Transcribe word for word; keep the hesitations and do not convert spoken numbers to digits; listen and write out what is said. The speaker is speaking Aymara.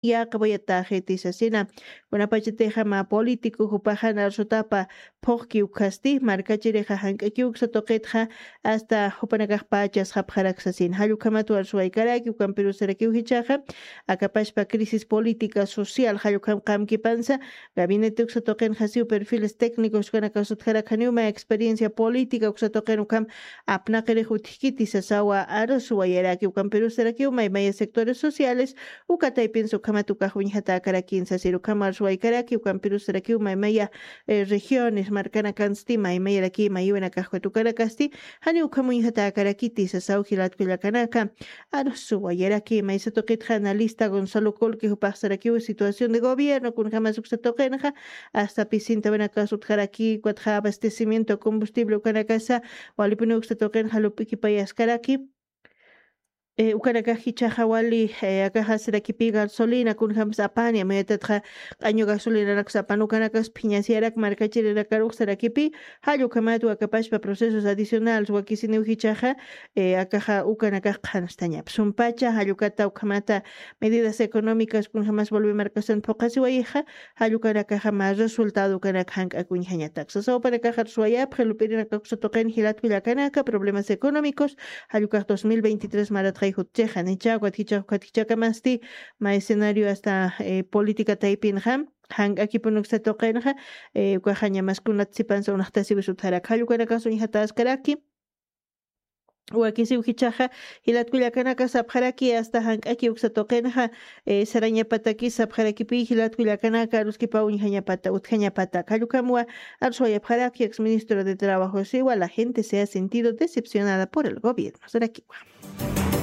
yaqawayatäxiti sasina. Kunapachatixa mä político jupaxan arsutapa phuqki ukhasti markachirixa jank'akiw uksa tuqitxa hasta jupanakax pachas japxarak sasina. Jall ukhamat arsuwaykaraki ukampirusarakiw jichhaxa akapashpa crisis política social jall ukham qamkipansa gabinete uksa tuqinxa siw perfiles técnicos ukanakax sutjarak janiw mä experiencia política uksa tuqin ukham apnaqirix utjkiti sasawa arsuwayaraki ukampirusarakiw maymaya sectores sociales uka taypinsa ukhamat ukax uñjatäkarakin sasir ukham arsuwaykaraki ukampirusarakiw maymaya eh, regiones markanakansti maymayaraki mayuwanakaxkut ukanakasti jani ukham uñjatäkarakiti sasaw jilat kullakanaka. Arsuwayaraki maysa tuqitxa analista Gonzalo Colque jupaxsarakiw situación de gobierno kunjamas uksa tuqinxa hasta pisintawanakas utjaraki ukatxa abastecimiento combustible ukanakasa walipuni uksa tuqinxa lup'ikipayaskaraki. Eh, ukanakax jichhaxa wali eh, akaxasirakipi gasolina kunjamas apani amayatatxa q'añu gasolinanakus apan ukanakas phiñasiyarak markachirinakaruxsarakipi jall ukhamat wakapashpa procesos adicionales wakisiniw jichhaxa eh, akaxa ukanakax qhanstañap sumpacha jall ukata ukhamata medidas económicas kunjamas volvi markasan phuqasiwayixa jall ukanakaxa mä resultado ukanak jank'akuñjañatak sasaw upanakax arsuwayapxi lup'irinakakusa tuqin jilat kullakanaka problemas económicos jall ukax dos mil veintitrés maratxay jutchixa nichha ukat jichhax ukat jichhakamasti mä escenario hasta eh, política taypinxa jank'akipun uksa tuqinxa eh, ukaxa ñamas kunat sipansa unaxtasiwis utjarak jall ukanakax uñjatäskaraki. Wakisiw jichhaxa jilat kullakanaka sapxaraki hasta jank'aki uksa tuqinxa eh, sarañapataki sapxarakipi jilat kullakanaka aruskipaw uñjañapata utjañapata jall ukhamwa arsuwayapxaraki ex ministro de trabajo siwa la gente se ha sentido decepcionada por el gobierno sarakiwa.